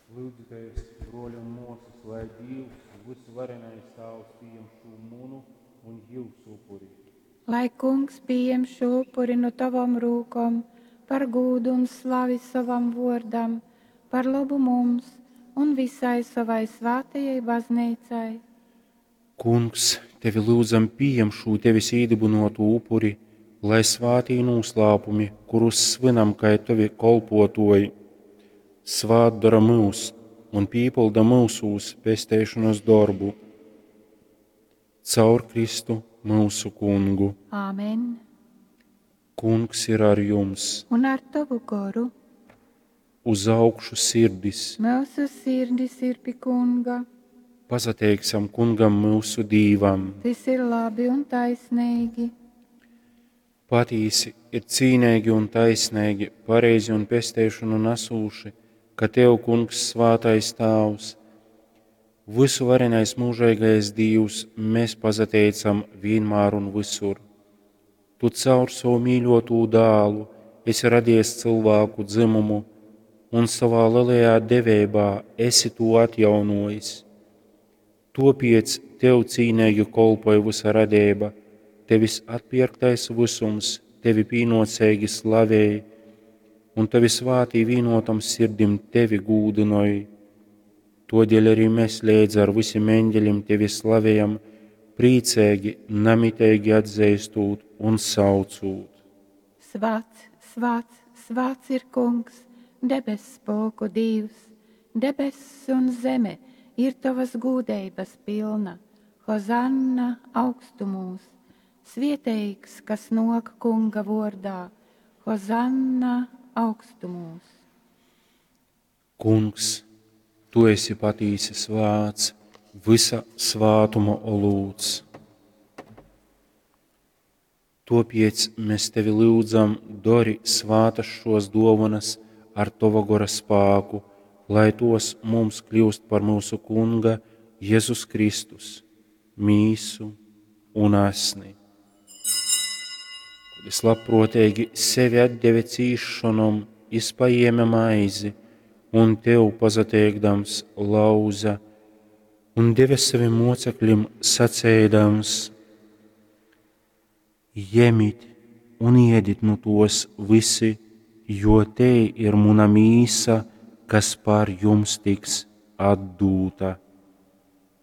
Lyudzitēs, bruoļi un muosys, lai Dīvs, vysuvarenais Tāvs, pījem šū munu un jiusu upuri. Lai Kungs pījem šū upuri nu tovom rūkom par gūdu un slavi sovam vuordam, par lobu mums un visai sovai svātajai Bazneicai. Kungs, tevi lyudzam, pījem šū tevis īdybynuotū upuri, lai svātī nūslāpumi, kurus svynam kai tovi kolpuotuoji, svātdora myus un pīpylda myusūs pesteišonas dorbu. Caur Kristu myusu Kungu. Āmen. Kungs ir ar jums. Un ar tovu goru. Uz augšu sirdis. Myusu sirdis ir pi Kunga. Pasateiksim Kungam myusu Dīvam. Tys ir labi un taisneigi. Patīsi ir cīneigi un taisneigi, pareizi un pesteišonu nasūši, ka Tev, Kungs, svātais Tāvs, vysuvarenais mūžeigais Dīvs, mēs pasateicam vīnmār un visur. Tu caur savu mīļotū dālu esi radies cilvēku dzimumu un savā lielajā deveibā esi to atjaunojis. Topiec Tev cīneigi kolpoj vysa radeiba, Tevis atpierktais vysums Tevi pīnuoceigi slavej, un Tavi svātī vīnotom sirdim Tevi gūdynoj. Todēļ arī mēs leidz ar visiem eņģeļiem Tevi slavējam, prīcīgi, namiteigi atzeistūt un saucūt. Svāts, svāts, svāts ir Kungs, debess pulku Dīvs, debess un zeme ir tavas gūdeibas pilna. Hozanna augstumūs, svieteigs, kas nok Kunga vordā, Hozanna augstumūs. Kungs, Tu esi patīsi svāts, vysa svātuma olūts. Topiec mēs Tevi lyudzam, dori svātas šos duovanas ar Tova gora spāku, lai tos mums kļūst par mūsu Kunga Jēzus Kristus, mīsu un asni. Kad es labprātīgi sevi atdeve cīšanom, jis paēma maizi un tev pasateikdams lauza un deva saviem mocekļiem sacēdams: Jemit un iedit nu tos visi, jo te ir muna mīsa, kas par jums tiks atdūta.